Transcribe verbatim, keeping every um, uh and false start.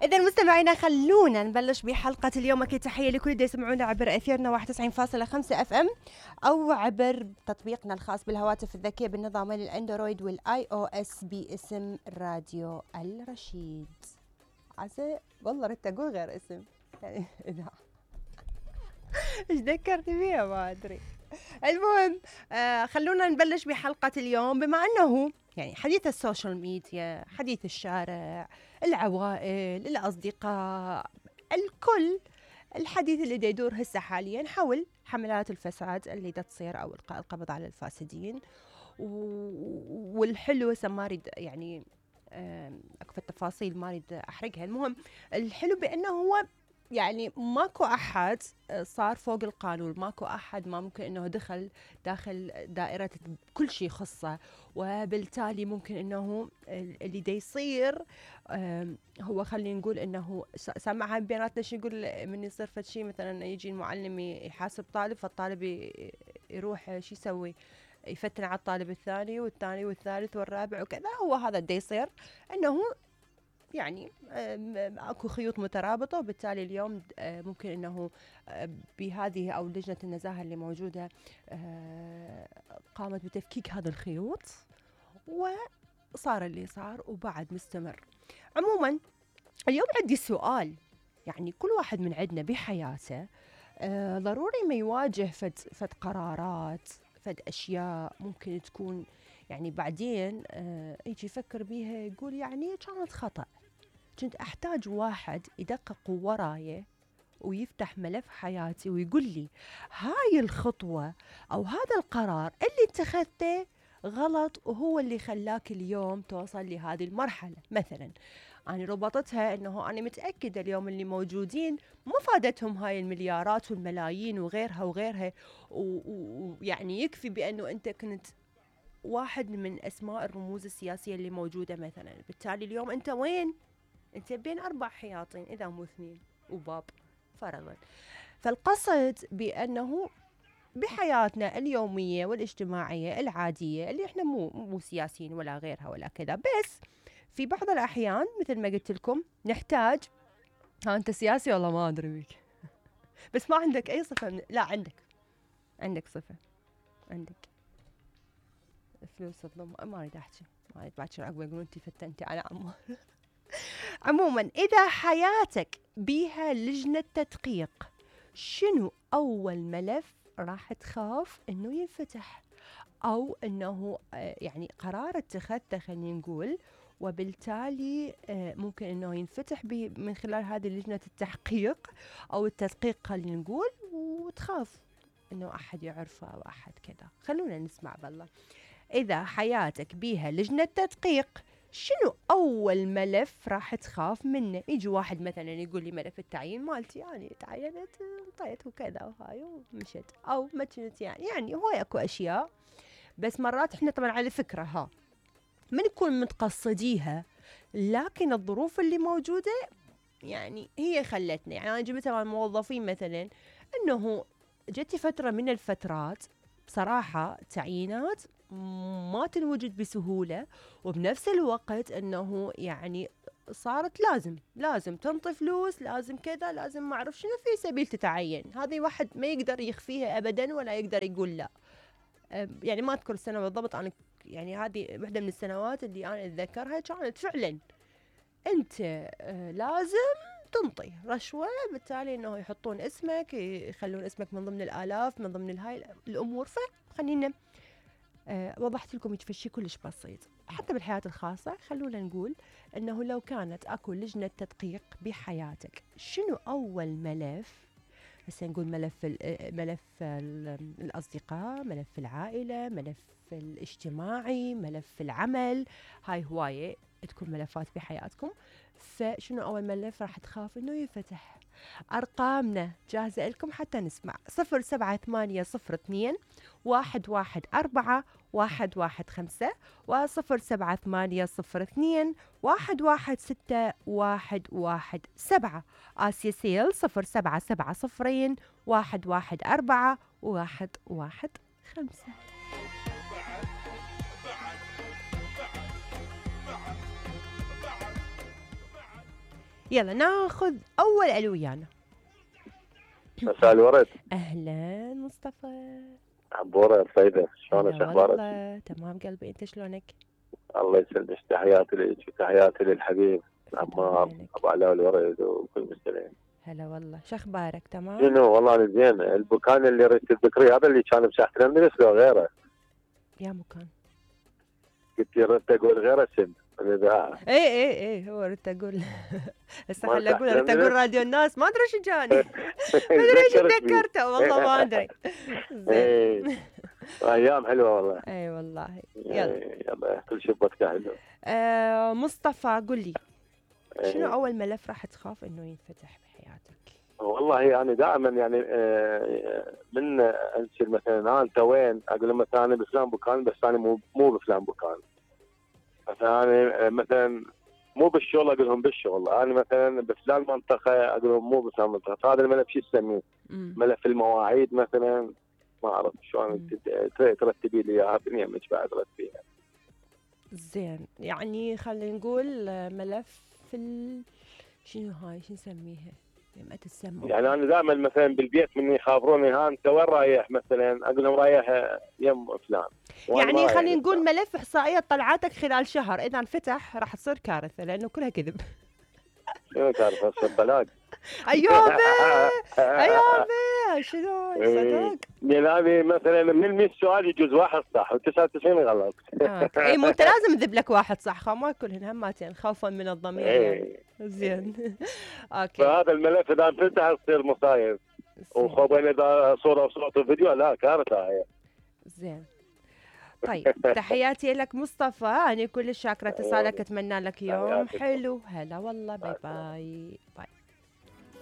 إذا مستمعينا خلونا نبلش بحلقة اليوم. أكيد تحية لكل اللي يسمعونا عبر أثيرنا واحد وتسعين فاصلة خمسة اف ام أو عبر تطبيقنا الخاص بالهواتف الذكية بالنظامين الأندرويد والآي أو إس باسم راديو الرشيد. عسى والله ريت أقول غير اسم يعني إذا إيش ذكرتي فيها ما أدري. المهم آه خلونا نبلش بحلقة اليوم، بما أنه يعني حديث السوشيال ميديا، حديث الشارع، العوائل، الأصدقاء، الكل الحديث اللي دا يدور هسه حاليا حول حملات الفساد اللي دا تصير أو إلقاء القبض على الفاسدين. والحلو هسه ما أريد يعني أكو التفاصيل ما أريد أحرقها. المهم الحلو بأنه هو يعني ماكو أحد صار فوق القانون، ماكو أحد ما ممكن أنه دخل داخل دائرة كل شيء خصه، وبالتالي ممكن أنه اللي دا يصير هو خلينا نقول أنه سامعها بيناتنا شو يقول من يصير فد شيء، مثلا يجي المعلم يحاسب طالب فالطالب يروح شو يسوي يفتن على الطالب الثاني والثاني والثالث والرابع وكذا. هو هذا دا يصير أنه يعني اكو خيوط مترابطه، وبالتالي اليوم ممكن انه بهذه او لجنه النزاهه اللي موجوده قامت بتفكيك هذا الخيوط وصار اللي صار وبعد مستمر. عموما اليوم عندي سؤال، يعني كل واحد من عندنا بحياته ضروري ما يواجه فد فد قرارات، فد اشياء ممكن تكون يعني بعدين يجي يفكر بيها يقول يعني كانت خطأ، كنت أحتاج واحد يدقق وراي ويفتح ملف حياتي ويقول لي هاي الخطوة أو هذا القرار اللي اتخذته غلط وهو اللي خلاك اليوم توصل لهذه المرحلة. مثلا أنا ربطتها أنه أنا متأكدة اليوم اللي موجودين ما فادتهم هاي المليارات والملايين وغيرها وغيرها، ويعني يكفي بأنه أنت كنت واحد من أسماء الرموز السياسية اللي موجودة مثلا، بالتالي اليوم أنت وين؟ أنت بين أربع حياطين إذا مو اثنين وباب فرضا. فالقصد بأنه بحياتنا اليومية والاجتماعية العادية اللي إحنا مو مو سياسيين ولا غيرها ولا كذا، بس في بعض الأحيان مثل ما قلت لكم نحتاج. ها أنت سياسي والله ما أدري بيك بس ما عندك أي صفة من... لا عندك عندك صفة، عندك فلوس الضم. ما أريد أحكي ما أريد باكر عقب يقولون أنت فتنتي على عمار. عموما إذا حياتك بيها لجنة تدقيق، شنو أول ملف راح تخاف إنه ينفتح أو إنه يعني قرار اتخذته خلينا نقول وبالتالي ممكن إنه ينفتح من خلال هذه لجنة التحقيق أو التدقيق خلينا نقول، وتخاف إنه أحد يعرفه أو أحد كذا. خلونا نسمع بالله. إذا حياتك بيها لجنة تدقيق شنو أول ملف راح تخاف منه؟ يجي واحد مثلا يقول لي ملف التعيين مالتي يعني تعينت انطيت وكذا وهاي ومشت، أو ما كنت يعني يعني هو اكو أشياء، بس مرات احنا طبعا على فكرة ها ما نكون متقصديها، لكن الظروف اللي موجودة يعني هي خلتنا. يعني أنا جبت مع الموظفين مثلا أنه جتي فترة من الفترات بصراحة تعيينات ما تنوجد بسهولة، وبنفس الوقت أنه يعني صارت لازم لازم تنطي فلوس، لازم كذا، لازم ما أعرف شنو في سبيل تتعين. هذه واحد ما يقدر يخفيها أبدا ولا يقدر يقول لا. يعني ما أذكر السنة بالضبط، أنا يعني هذه واحدة من السنوات اللي أنا أتذكرها كانت فعلا أنت لازم تنطي رشوة، بالتالي أنه يحطون اسمك، يخلون اسمك من ضمن الآلاف من ضمن الهاي الأمور. فخلينا أه وضحت لكم شيء كلش بسيط. حتى بالحياة الخاصة خلونا نقول أنه لو كانت أكو لجنة تدقيق بحياتك، شنو أول ملف؟ هسه نقول ملف ال ملف ال الأصدقاء، ملف العائلة، ملف الاجتماعي، ملف العمل، هاي هواية تكون ملفات بحياتكم. فشنو أول ملف راح تخاف إنه يفتح؟ أرقامنا جاهزة لكم حتى نسمع. صفر سبعة ثمانية صفر اثنين واحد واحد أربعة واحد واحد خمسة وصفر سبعة ثمانية صفر اثنين واحد واحد ستة واحد واحد سبعة. آسيا سيل صفر سبعة سبعة صفرين واحد واحد أربعة واحد واحد خمسة. يلا ناخذ اول الو ويانا. مساء الورد. اهلا مصطفى. عبورة طيبة، شلونك هلا اخبارك؟ والله تمام قلبي، انت شلونك؟ الله يسلمك، تحياتي لك وتحياتي للحبيب فداء عمار عينك. ابو علاء الورد وكل المستمعين. هلا والله، شو اخبارك؟ تمام؟ شنو والله انا زين. البكان اللي ردت تذكريه هذا اللي كان بساحة الاندلس لو غيره؟ يا مكان. قلت لي ردت اقول غير اسم الاذاعه. ايه ايه ايه هو ردت اقول. هسه ما خلي اقول، ردت تحترمني؟ اقول راديو الناس، ما ادري شو جاني. ما ادري ايش تذكرت فيه. تذكرته والله ما ادري. زين. إيه. ايام حلوه والله. اي والله. يلا. إيه، يلا كل شيء بوقته حلو. آه مصطفى قل لي، شنو إيه. اول ملف راح تخاف انه ينفتح بحياتك؟ والله يعني دائما يعني آه، من انشل مثلا انا انت وين؟ اقول له مثلا انا بفلان بكان، بس انا مو مو بفلان بكان. مثلا انا آه، مثلا مو بالشغل اقول لهم بالشغل، انا مثلا بفلان منطقه اقول لهم مو بفلان منطقه. فهذا الملف شو تسميه؟ مم. ملف المواعيد مثلا. ما اعرف شلون مم. تت- ترتبي لي اياها بنيمك بعد رتبيها. زين، يعني خلينا نقول آه، ملف ال... شنو هاي، شو نسميها؟ ما تسمى. يعني انا دائما مثلا بالبيت من يخابروني ها انت وين رايح مثلا؟ اقول لهم رايح يم فلان. وأنا ما يعني رايح خلينا نقول لفلان. ملف احصائيات طلعاتك خلال شهر، اذا انفتح راح تصير كارثه لانه كلها كذب. شنو تعرف هسه الطلاق؟ ايوبي ايوبي شنو صدق؟ يعني مثلا من مية سؤال يجوز واحد صح وتسعة وتسعين غلط. اوكي، اي مو انت لازم تذب لك واحد صح، خا ما كلهن هماتين خوفا من الضمير يعني. إيه. زين. اوكي. فهذا الملف اذا انفتح تصير مصايب، زين. وخوفا اذا صوره وصوت وفيديو لا كارثه هي. زين. طيب تحياتي لك مصطفى، أنا كل شاكرة اتصالك، أتمنى لك يوم تحياتي. حلو. هلا والله، باي باي باي.